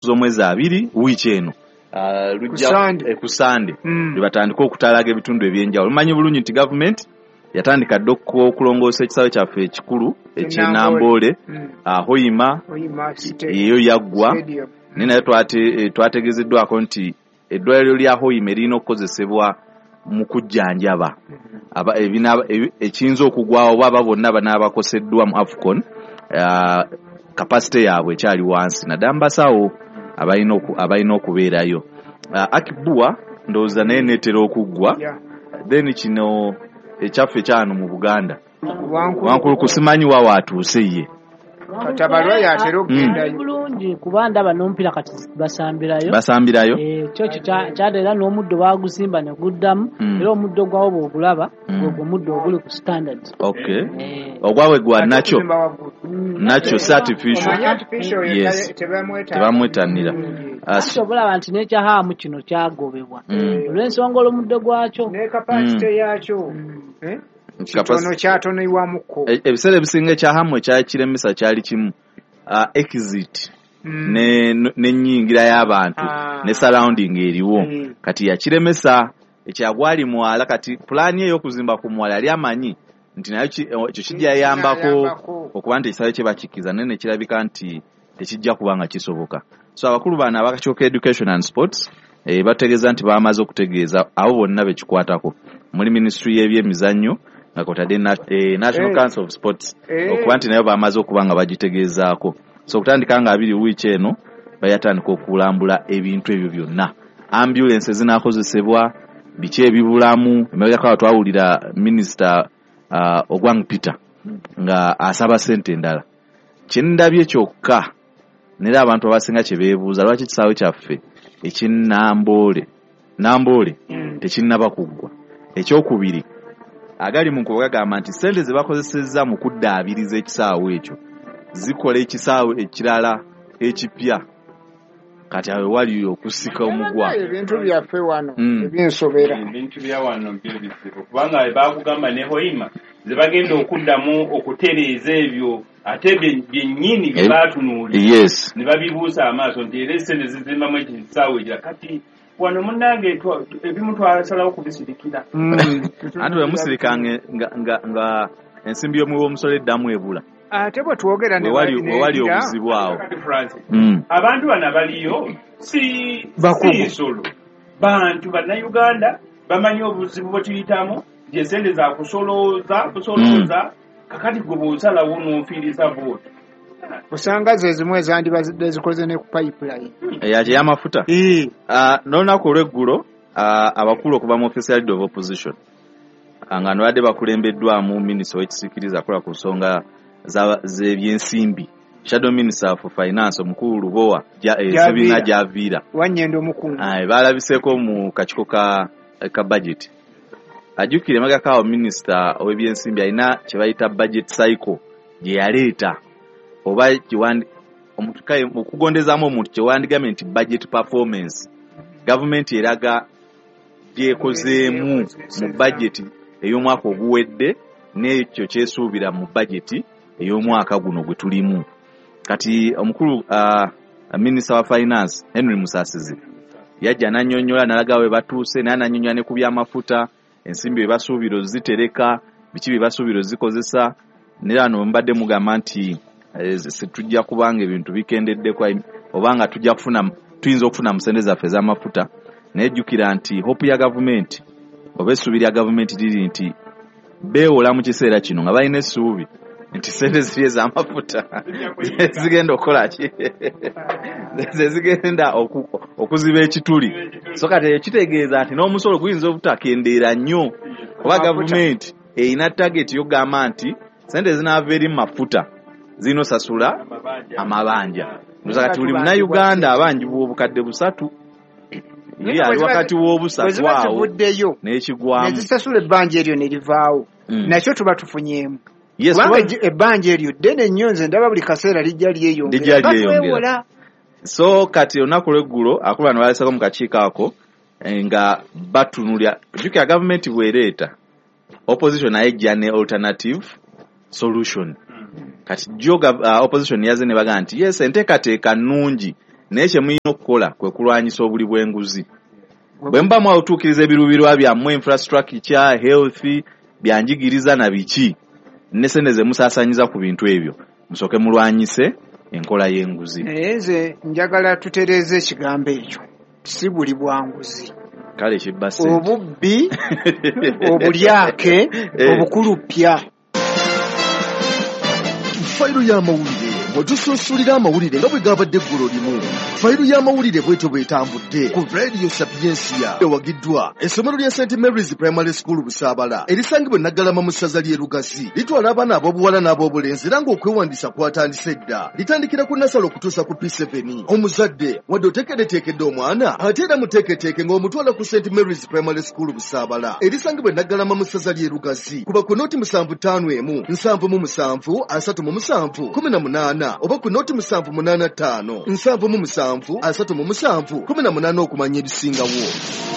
Z'omwezi 20 wiiki eno, ku Sande, lwe batandika okutalaga ebitundu ebyenjawulo. Mumanyi bulungi nti gavumenti yatandika dda okulongoosa ekisaawe kyaffe ekikulu eky'e Namboole, Hoima eyo yaggwa, naye nayo twategeezeddwako nti eddwaliro lya Hoima erina okukozesebwa mu kujjanjaba ekiyinza okugwawo oba aba bonna banaabakoseddwa mu AFCON, capacity yaabwe ekyali wansi, naddala mu basawo abalina okubeerayo. Akii-Bua ndowooza naye neetera okuggwa. Then kino ekyaffe ekyano mu Buganda, Wankuluku, simanyi wa waatuuse ye. Katabalwa yatera okugendayo. Bulungi, kuba ndaba n'omupiira kati basambirayo. Basambirayo. Kyo kyo kyada, era n'omuddo bagusimba ne guddamu. Era omuddo gwawo bw'ogulaba, gwegwo omuddo oguli ku standard. Okay, ogwabwe gwa nakyo nakyo si artificial. Omanyi artificial oyo tebamwetanira. Ate obulaba nti n'ekyahaamu kino kyagobebwa olw'ensonga olw'omuddo gwakyo. Ne capacity yakyo kitono, kyatonebwamuko. Ebiseera ebisinga ekyahamu ekyakiremesa kyali kimu, exit n'ennyingira y'abantu ne surrounding eriwo. Kati yakiremesa ekyagwali mwala. Kati pulaani ey'okuzimba ku mwala yali amanyi nti nayo ekyo kijja yambako okuba nti ekisaawe kye bakikkiriza, naye nekirabika nti tekijja kuba nga kisoboka. So abakulu bano abakakiiko Education and Sports bategeeza nti bamaze okutegeeza abo bonna bekikwatako muri ministry y'ebyemizannyo, nga kwotadde National Council of Sports, okuba nti nayo bamaze okuba nga bagitegeezaako. So okutandika nga 20 wiiki eno bayatandika okulambula ebintu ebyo byonna, ambulance ezinakozesebwa, biki ebibulamu. Emabegako awo twawulira Minisita Ogwang Peter nga asaba sente endala. Kyendabye kyokka nera abantu abasinga kye beebuuza, lwaki ekisaawe kyaffe eky'e Namboole tekinnaba kuggwa? Ekyokubiri, agali mu nkuba gagamba nti sente ze bakozesezza mu kuddaabiriza ekisaawe ekyo zikola ekisaawe ekirala ekipya. Kati awo wali okusika omugwa. Ebintu byaffe wano ebinsobera. Ebintu bya wano byo bizibu, kubanga bakugamba ne Hoima ze bagenda okuddamu okutereeza ebyo, ate byennyini bye baatunuulira ne babibuusa amaaso nti era esente zizimbamu ekisaawe ekira. Kati wano munnange ebimu twasalawo kubisirikira. Anti bwe musirika nga ensimbi y'omuwi w'omusolo eddamu ebula. Ate bwe twogera ne wewali obuzibu awo. Kati Francis, abantu bano abaliyo si Bakugu. si nsolo, bantu Bannayuganda bamanyi obuzibu bwe tuyitamu, nti esente za kusolooza busolooza. Kakati gwe bw'osalawo n'ofiiriza bwoti. Osanga ze zimu ezandibadde zikoze ne ku pipeline. Eyaki ey'amafuta. N'olunaku olw'eggulo, abakulu okuva mu office ya leader of opposition, nga no badde bakulembeddwamu minisita ow'ekisiikirize akola ku nsonga z'ebyensimbi, shadow minister for finance, omukulu Lubowa Gyaviira. Ssebina Gyaviira. Wanyenda omukungu. Balabiseeko mu kakiiko ka budget. Ajjukire emabegako awo minisita ow'ebyensimbi alina kye bayita budget cycle gye yaleeta, oba omuntu okugondezaamu omuntu kyewandigambye nti budget performance. Gavumenti eraga gyekozeemu mu budget ey'omwaka oguwedde n'ekyo kyesuubira mu budget ey'omwaka guno gwe tulimu kati. Omukulu minisita wa finance Henry Musasizi yajja n'annyonnyola, n'alaga we batuuse, naye n'annyonnyola ne ku by'amafuta, ensimbi bye basuubira ozitereka, biki bye basuubira ozikozesa. Naye wano mbadde mugamba nti tujja kubanga ebintu bikendeddeko oba nga tujja kufuna, tuyinza okufuna mu sente zaffe ez'amafuta. Naye jjukira nti hope ya gavumenti oba essuubi lya gavumenti liri nti beewola mu kiseera kino nga balina essuubi nti sente ziri ez'amafuta zigenda okukola ki, ze zigenda okuziba ekituli. So kati ekyo kitegeeza nti n'omusolo guyinza obutakendeera nnyo, oba Amafuta. Gavumenti erina target yokugamba nti sente zinaava eri mu mafuta zirina osasula amabanja. Ndoza kati buli Munnayuganda abanjibwa 3,000 ye ali wakati Bwe w'obusatu ziba awo zivuddeyo n'ekigwamu. Ne zisasula ebbanja eryo ne livaawo, nakyo tuba tufunyeemu, kubanga ebbanja eryo ddene nnyo. Nze ndaba buli kaseera lijja lyeyongera. Lijja lyeyongera. Batwewola. So kati olunaku lweggulo akulu bano balesako mu kakiiko ako nga batunulya. Jjukira gavumenti bw'ereeta, opposition naye ejja ne alternative solution. Kati jo opposition yaze ne bagamba nti yes, enteekateeka nnungi. Naye kye mulina okukola kwe kulwanyisa obuli bw'enguzi. Bwe muba mwatuukiriza ebiruubirirwa byammwe, infrastructure, health, byanjigiriza na biki, ne sente ze musaasaanyiza ku bintu ebyo, musooke mulwanyise enkola y'enguzi. Naye nze njagala tutereeze ekigambo ekyo, si buli bwanguzi. Kale kibba ssente. Obubbi, obulyake, obukulupya. Fayiro y'amawulire mwe tusunsulira amawulire nga bwe gabadde eggulo limu. Fayiro y'amawulire bwetyo bw'etambudde ku Radio Sapientia, ewagiddwa essomero lya St Mary's Primary School Busaabala erisangibwa e Naggalama mu ssaza ly'e Lugazi. Litwala abaana ab'obuwala n'ab'obulenzi era ng'okwewandiisa kwatandise dda. Litandikira ku nasale okutuusa ku P7. Omuzadde wadde oteekeddeteekedde omwana, ate era muteeketeeke ng'omutwala ku St Mary's Primary School Busaabala erisangibwa e Naggalama mu ssaza ly'e Lugazi. Kuba ku noti 751 77 37 18 oba ku noti 785 77 37 18 okumanya ebisingawo.